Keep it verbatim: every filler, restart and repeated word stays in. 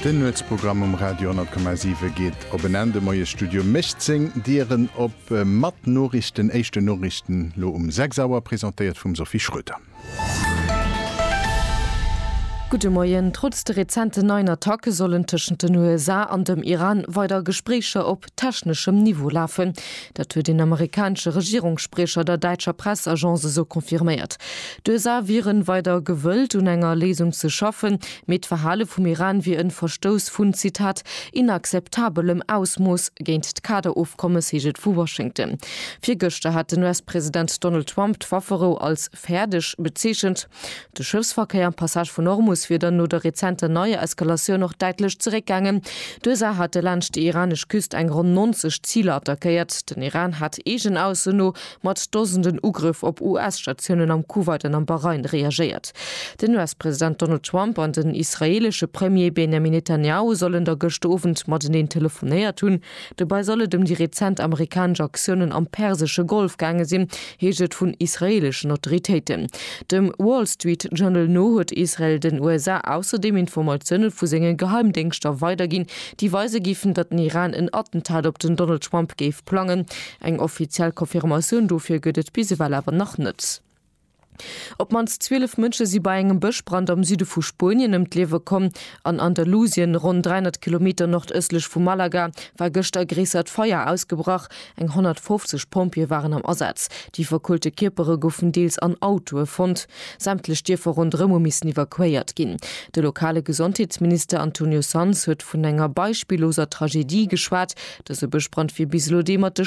Den Nuetsprogramm um Radio honnert Komma siwe geet op en Enn. De Moiesstudio mécht seng Dieren op mat Noriichten, éischten Noriichten lo um sechs Auer, presentéiert vum Sophie Schröder. Gudde Moien. Trotz de rezenten neien Attacke sollen tëschent den U S A an dem Iran weider Gespréicher op techneschem Niveau lafen. Dat huet een amerikanesche Regierungsspriecher der däitscher Pressagence esou confirméiert. D'U S A wieren weider gewëllt, un enger Léisung ze schaffen, mee d'Verhale vum Iran wier e Verstouss vun, Zitat, inakzeptabelem Ausmooss géint d'Kaderofkommes, heescht et vu Washington. Virgëschter hat den U S-President Donald Trump d'Wafferou als fäerdeg bezeechent. De Schëffsverkéier am Passage vun Hormus wier dann no der rezenter neier Eskalatioun och däitlech zeréckgaangen. D'U S A hate laanscht déi iranesch Küst eng ronn neunzeg Ziler attackéiert. Den Iran hat eegenen Aussoen no mat Dosenden Ugrëff op U S-Statiounen am Kuwait an am Bahrain reagéiert. Den U S-President Donald Trump an den israeelesche Premier Benjamin Netanjahu sollen da gëschter Owend mateneen telefonéiert hunn. Dobäi soll et ëm déi rezent amerikanesch Aktiounen am Persesche Golf gaange sinn, heescht et vun israeeleschen Autoritéiten. Dem Wall Street Journal no huet Israel den U S A ausserdeem Informatioune vu senge Geheimdéngschter weiderginn, déi weise géifen, datt den Iran en Attentat op den Donald Trump géif plangen. Eng offiziell Confirmatioun dofir gëtt et bis ewell awer nach net. Op d'mannst zwielef Mënsche si bei engem Bëschbrand am Süde vu Spuenien ëm d'Liewe komm. An Andalusien, ronn dräihonnert Kilometer nordëstlech vu Malaga, war gëschter e gréissert Feier ausgebrach. Eng honnertfofzeg Pompjeeë waren am Asaz. Déi verkuelte Kierpere goufen deels an Autoe fonnt. Sämtlech Dierfer ronderëm hu missen evakuéiert ginn. De lokale Gesondheetsminister Antonio Sanz huet vun enger beispilloser Tragedie geschwat. Dëse Bëschbrand wier bis elo dee mat de